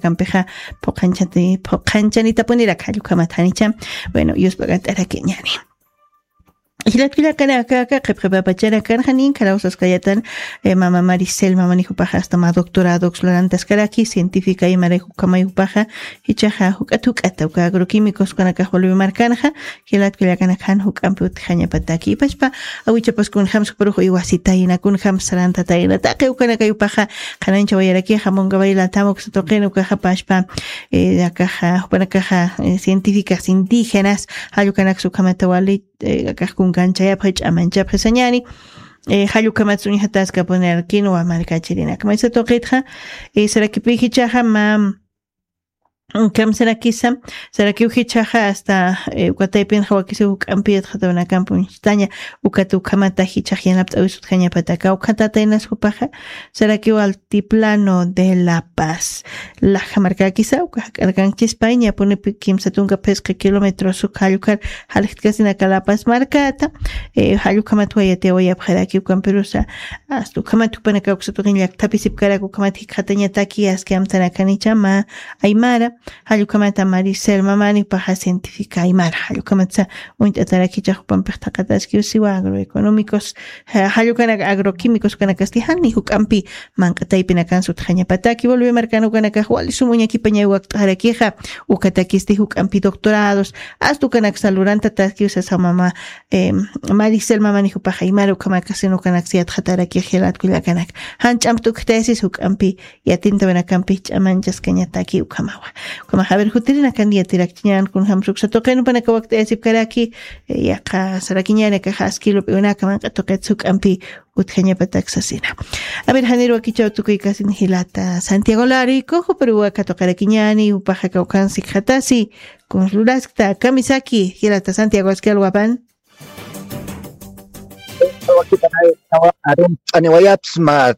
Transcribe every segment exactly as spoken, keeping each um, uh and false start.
markakampixa phuqanchati phuqanchanitapunirak jallukhamat janicha. Bueno, yusp'ak'ant'arakiñani. Jilatkullakanakaka qhipqipapachanakanxa nin karaw saskayatan, eh, mama Maricel mamanijupaxa hasta ma doctoradox lurantaskaraki científica imaraykukamayjupaxa. Jichaxa juk'at juk'ata uka agroquímicos kunakax volvimarkanxa. Jilatkullakanakxan juk'ampi utjañapataki ipachpa awichapas kunjams juparux iwasitayna kunjams sarantatayna taqi ukanakayupaxa. Qhanancha wayarakixa mungabaylatam uksa tuqin ukaxa pachpa, eh, akaxa jupanakaxa, eh, científicas indígenas jallukanaksa ukhamata wali, eh, akax kunkanchayapxi ch'amanchapxi sañani. Eh, jallukhamatsa uñjataskapunirarkinwa markachirinaka maysa tuqitxa, eh, sarakipijichaxa ma, kamsarakisa sarakiw jichaxa hasta, eh, ukataypinxa wakisiw juk'ampi yatxatawinakampi uñstaña. Ukat ukhamata jichax yanapt'awisutjañapataka ukhatataynas jupaxa sarakiw altiplano de La Paz laja markakisa uka jak'arkankchispay ñapunipi kimsa tunka phisqa kilómetros uka jallukar jaljitkasina kalapasmarkata. Eh, jallukhamat wayatiwayapxaraki ukampirusa. Asta ukhamat jupanaka uksatuqin llaktapisipkarak ukhamat jikxatañataki aski amtanakanicha ma aymara. Jallukhamata Maricel mamani paxa científica aymara jallukhamatsa uñt'atarakicha jupampix thaqataski usiwa agroeconómicos, jallukanak agroquímicos kanakasti jani juk'ampi manq'ataypinakan sutjañapataki volvimarkan ukanakax wali sum uñakipañay wakt'arakixa. Ukatakisti juk'ampi doctorados asta ukanaksa lurantataski usasa mama, em, Maricel mamani jupaxa imara ukhamakasina ukanaksa yatxatarakix jilatkullakanaka. Jan ch'ampt ukjtayasis juk'ampi yatintawinakampi ch'amanchaskañataki ukhamawa. Ukhamaxa aver jutirinakan yatirakchiñan kunjams uksa tuqin jupanaka wakt'ayasipkaraki. Yaqa sarakiñanakaxa aski lup'iwinaka manq'a tuqitsa juk'ampi utjañapatak sasina. Aver janir wakichaw tukuykasin jilata Santiago Larico juparuwa katuqarakiñani jupaxa kawkhansi khatasi. Kunsluraskta kamisaki jilata Santiago aski alwapan. Arumt'aniwayapsma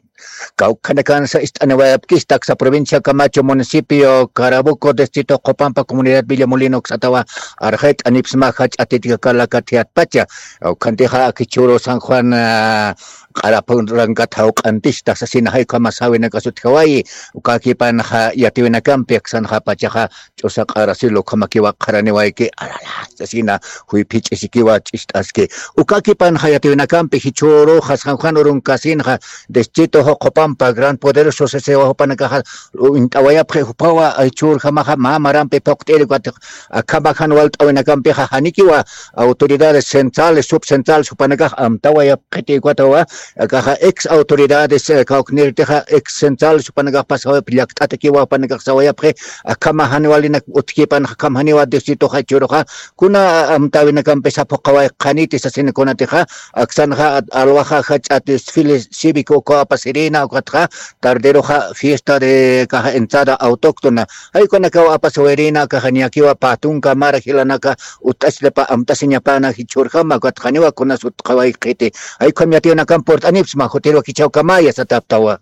kawkhanakansa ist'aniwayapkista aksa provincia Camacho municipio Carabuco distrito Qopampa comunidad Villamolino uksatawa. Arxayt'anipsma jach'atitkakalakathiatpacha. Ukhantixa akichuru San Juan, ah, q'arapurankat jawq'antista sasina jaykhamasawinakasutjawayi. Ukakipanxa yatiwinakampi aksanxa pachaxa ch'usa q'arasilu ukhamakiwa qharaniwayki arala sasina juyphich'isikiwa ch'ist'aski. Ukakipanxa yatiwinakampi jichhuruxa San Juan urunkasinxa distrito juqupampa gran poderoso sasiwa jupanakaxa uñt'awayapxi jupawa jichhurjamaxa mä marampi phuqt'iri ukat akhamajan walt'awinakampixa janikiwa autoridades centrales subcentrales jupanakax amtawayapxiti ukatawa. Akaxa ex autoridades, eh, kawknirtixa ex central supanakax pasawayap llakt'atakiwa jupanakax sawayapxi. Akhama janiwalinak utkipan akhama janiwa distritoxa churuxa kuna amtawinakampisa phuqaway qhaniti sasinakunatixa aksanxa alwaxa jach'at desfile cívico ukawa apasirina ukatxa tarderoxa fiesta de kaxa entrada autóctona jaykunakaw apasawirina akaxa niyakiwa patunka mara jilanaka ut'asllapa amt'asiñapana jichhurjama ukatxaniwa kunas utqaway qhiti. Jaykham yatiyunakan purt'anipsma jutirwa kichhawkamaya sataptawa.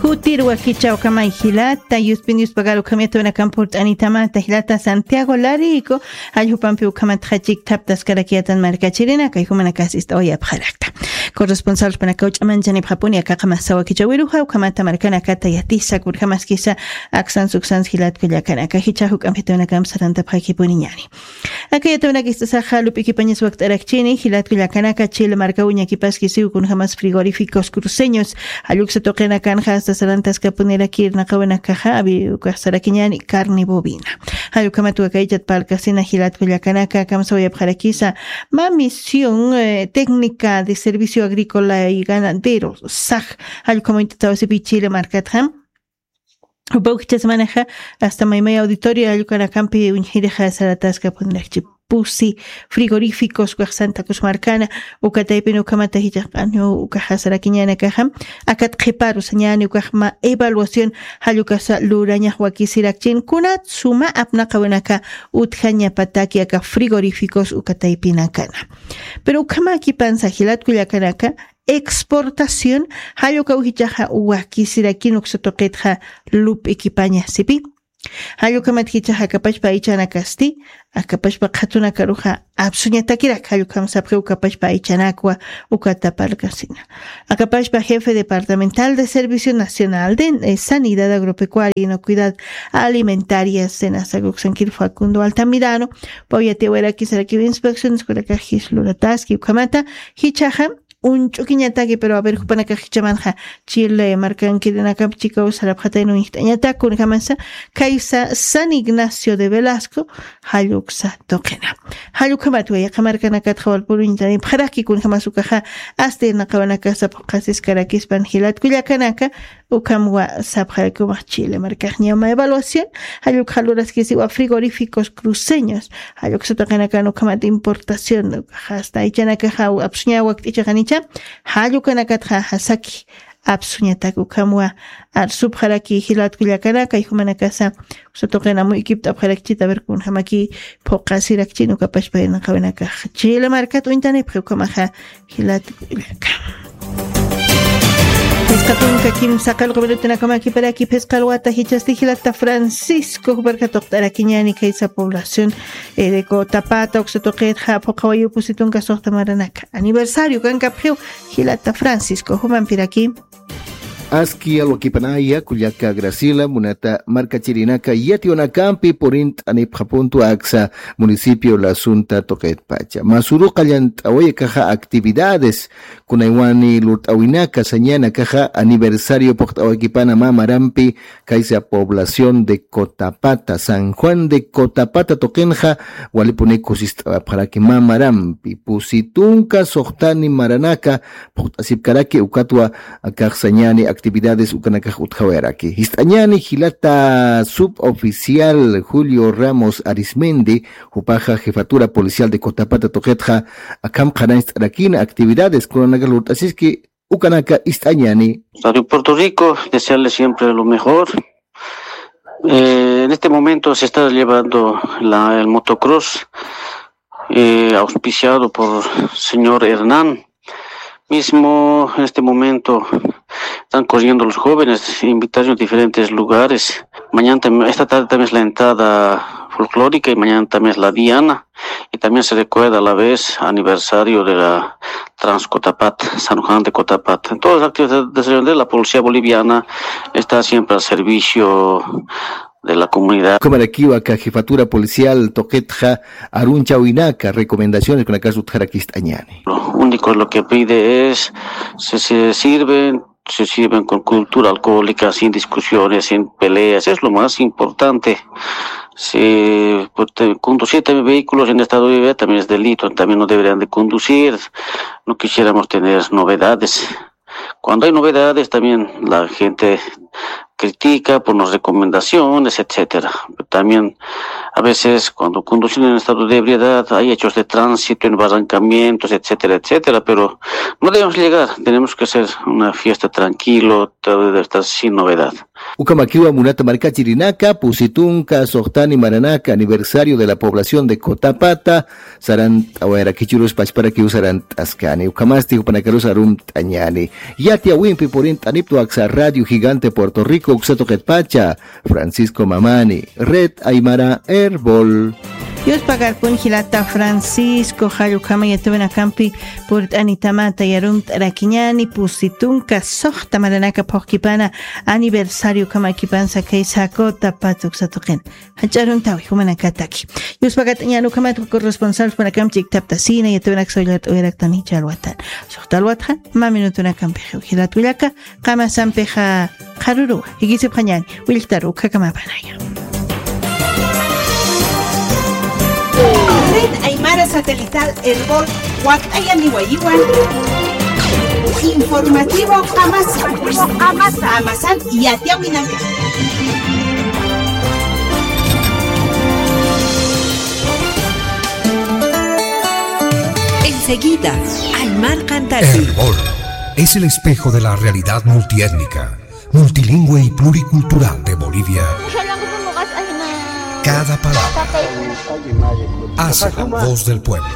Jutirwa kichhawkamay jilata yuspin yuspagaru ukham yatiyunakan purt'anitamata jilata Santiago Larico. Jallupampi ukhamatxa chikthaptaskarakiyatan markachirinaka jumanakas ist'awayapxarakta. Corresponsal panakaw ch'amanchanipxapuni akaqamas sawakichawiruxa ukhamata markanakata yatisa kurjamaskisa. Aksans uksans jilatkullakanaka jichha juk'ampi yatiyunakamp sarantapxakipuniñani. Aka yatiyunak istasaxa lup'ikipañas wakt'arakchini jilatkullakanaka chile markaw uñakipaskisiw kunjamas frigoríficos cruceños. Jalluksa tuqinakanxa asta sarantaskapunirakir naqawinakaxa avi ukax sarakiñani carne bovina. Jallukhamat wakaychat parlkasina jilatkullakanaka kamsawayapxarakisa. Ma misión, eh, técnica de servicio agrícola y ganadero saj. Jallukhamuñt'atawasipi chile markatxa jupa ukhichha semanaxa asta maymay auditorio jallukanakampi uñjirixa sarataskapunirachi pusi frigoríficos ukax santa cruz markana. Ukataypin ukhamata jichhax q'aniw ukaxa sarakiñanakaxa akat qhiparu sañani ukax ma evaluación jallukasa lurañax wakisirakchin kunat suma apnaqawinaka utjañapataki aka frigoríficos ukataypinakana. Pero ukhamakipansa jilatkullakanaka exportación jallukaw jichhaxa wakisirakin uksa tuqitxa lup'ikipaña sipi. Jallukhamat jichhax akapachpa aychanakasti, akapachpa qhatunakaruxa apsuñatakirak, jallukhamsapxi ukapachpa aychanakwa uka taparkasina. Akapachpa jefe departamental de Servicio Nacional de, eh, Sanidad Agropecuaria y Inocuidad Alimentaria, SENASA, uksankir Facundo Altamirano, pawiyatiwarakisarakiw inspecciones kunakax jislurataski ukhamata, jichhaxa, uñch'ukiñataki, pero a ver, jupanakax jichhamanxa Chile markankirinakap chikaw sarapxatayna uñjt'añatak, kunjamasa, kaysa San Ignacio de Velasco, jalluksa tuqina. Jallukhamat wayqa markanakatxa walpun uñtanipxaraki, kunjamas ukaxa, asta irnaqawanakasa phuqasiskarakispan jilat kullakanaka, ukham sapxaraki umax Chile markax ñawma evaluación, jallukxa luraskisiwa frigoríficos cruceños, jalluksa tuqinakan ukhamat importación, ukaxa asta aychanakaxa apsuña wakt'ichaxanicha, jallukanakatxa jasaki apsuñatak ukhamwa arsupxaraki jilat kullakanaka, jumanakasa uksa tuqina muykipt'apxarakchita, a ver, kunjamaki phuqasirakchin ukapachpa irnaqawinakax Chile markat uñtanipxi ukhamaxa jilat kullaka. Phisqa tunka kimsa qallqu minutunakamakiparaki phisqa alwata jichhasti jilata Francisco, juparka tuqt'arakiñäni kaysa población, eh, de Cotapata, uksa tuqitxa phuqhawayu pusi tunka suxta maranaka aniversario kankapxiw, jilata Francisco, jumampiraki. Aski alwakipanaya kullaka Graciela, munata markachirinaka, yatiyawinakampi purint'anipxapuntu aksa municipio Lascunta tuqitpacha. Mä suru qallant'awayakaxa actividades kunaywani lurt'awinaka sañanakaxa aniversario phuqt'awakipana mä marampi kaysa población de Cotapata, San Juan de Cotapata tuqinxa, walipuni kusist'awapxaraki mä marampi, pusi tunka suxtani maranaka phuqt'asipkaraki, ukatwa akax sañäni actividades ukanakax utjawayaraki. Jist'añäni jilata suboficial Julio Ramos Arismendi, jupaxa jefatura policial de Cotapata tuqitxa, akham qhanañcht'arakïna actividades kunanaka lurt'asiski, ukanaka ist'añäni. Radio Puerto Rico, desearle siempre lo mejor. Eh, en este momento se está llevando la, el motocross, eh, auspiciado por señor Hernán. Mismo en este momento están corriendo los jóvenes, invitados a diferentes lugares. Mañana tam-, esta tarde también es la entrada folclórica y mañana también es la diana. Y también se recuerda a la vez aniversario de la Transcotapat, San Juan de Cotapat. Todas las actividades de la policía boliviana está siempre al servicio de la comunidad. Ukhamarakiwa aka jefatura policial tuqitxa arunchawinaka, recomendaciones kunakas utjarakist'añäni. Lo único lo que pide es, se, se sirven, se sirven con cultura alcohólica, sin discusiones, sin peleas, es lo más importante. Si, pues, te-, conducir también vehículos en estado de ebriedad también es delito, también no deberían de conducir. No quisiéramos tener novedades. Cuando hay novedades, también la gente critica por las recomendaciones, etcétera. También, a veces, cuando conducen en estado de ebriedad, hay hechos de tránsito, embarrancamientos, etcétera, etcétera, pero no debemos llegar, tenemos que hacer una fiesta tranquilo, todo debe estar sin novedad. Ukhamakiwa munata markachirinaka, pusi tunka suxtani maranaka, aniversario de la población de Cotapata, sarant'awayarakichirus pachparakiw sarant'askani. Ukhamasti jupanakarus arumt'añäni. Yatiyawimpi purint'aniptu aksa Radio Gigante Puerto Rico uksa tuqitpacha, Francisco Mamani, Red Aymara Erbol. Yuspagarpun jilata Francisco, jall ukhama yatiyawinakampi purt'anitamata arumt'arakiñäni, pusi tunka suxta maranaka phuqkipana aniversario ukhamakipansa kaysa Cotapata uksa tuqin. Jach'a aruntawi jumanakataki. Yuspagatäñäni ukhamat corresponsal jumanakam chiktaptasina, yatiyawinaksa uñt'awayaraktan jichha alwatan. Suxta alwatxa mä minutunakampix jilat kullaka, qamasampixa qharüruwa, jikisipxañäni, willktaru ukhakamapanaya. Red Aymara Satelital Erbol, wakt'ayaniwayiwan. Informativo Qamasa. Qamasa. Qamasan yatiyawinaka. Enseguida, Aymar Cantasi. Erbol es el espejo de la realidad multiétnica, multilingüe y pluricultural de Bolivia. Cada palabra hace la voz del pueblo.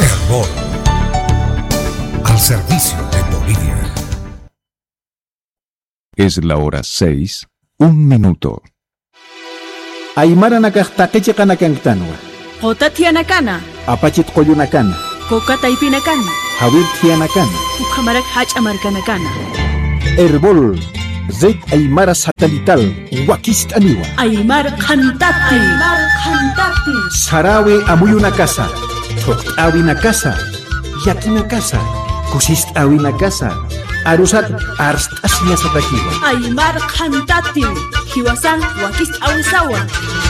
Erbol, al servicio de Bolivia. Es la hora seis, Un minuto. Aymaranakax taqi chiqanakanktanwa. Quta thiyanakana. Apachit qullunakana. Kuka taypinakana. Jawir thiyanakana. Ukhamarak jach'a markanakana. Erbol, Red Aymara Satelital, wakist'aniwa. Aymar qhantati. Aymar qhantati. Sarawi amuyunakasa, thuqt'awinakasa, yakinakasa, kusist'awinakasa, arusat arst'asiñasatakiwa. Aymar qhantati, jiwasan wakist'awisawa.